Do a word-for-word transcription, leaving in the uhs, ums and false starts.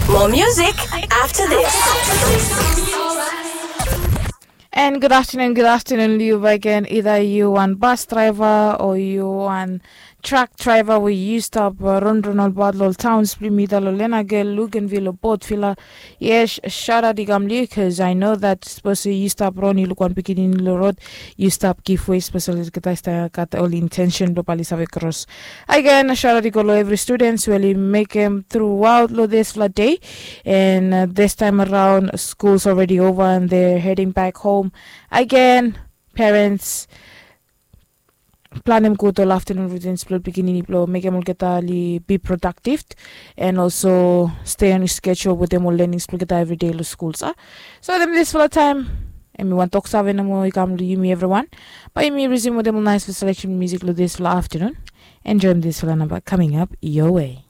More music after this. And good afternoon, good afternoon, Liu Bagan. Either you one bus driver or you one truck driver where you stop uh, run run all bad little towns, Plymouth, Lolena, Luganville, Port Villa. Yes, shout out Igamli, because I know that supposed to you stop run, you look one picking in the road, you stop give way, especially the guys that got all intention, probably save cross. Again, shout out to every students who really make them throughout lo this la day. And uh, this time around, school's already over and they're heading back home. Again, parents, planem gud ol afternoon routines blong pikinini blong mekem olgeta oli be productive and also stay on schedule wetem ol learnings blong olgeta everyday long school sa. So wetem disfala taem, em i wan tok save nomo i kam long yumi evriwan. Bae yumi resume wetem ol nice selection music long disfala afternoon. Enjoy disfala namba coming up your way.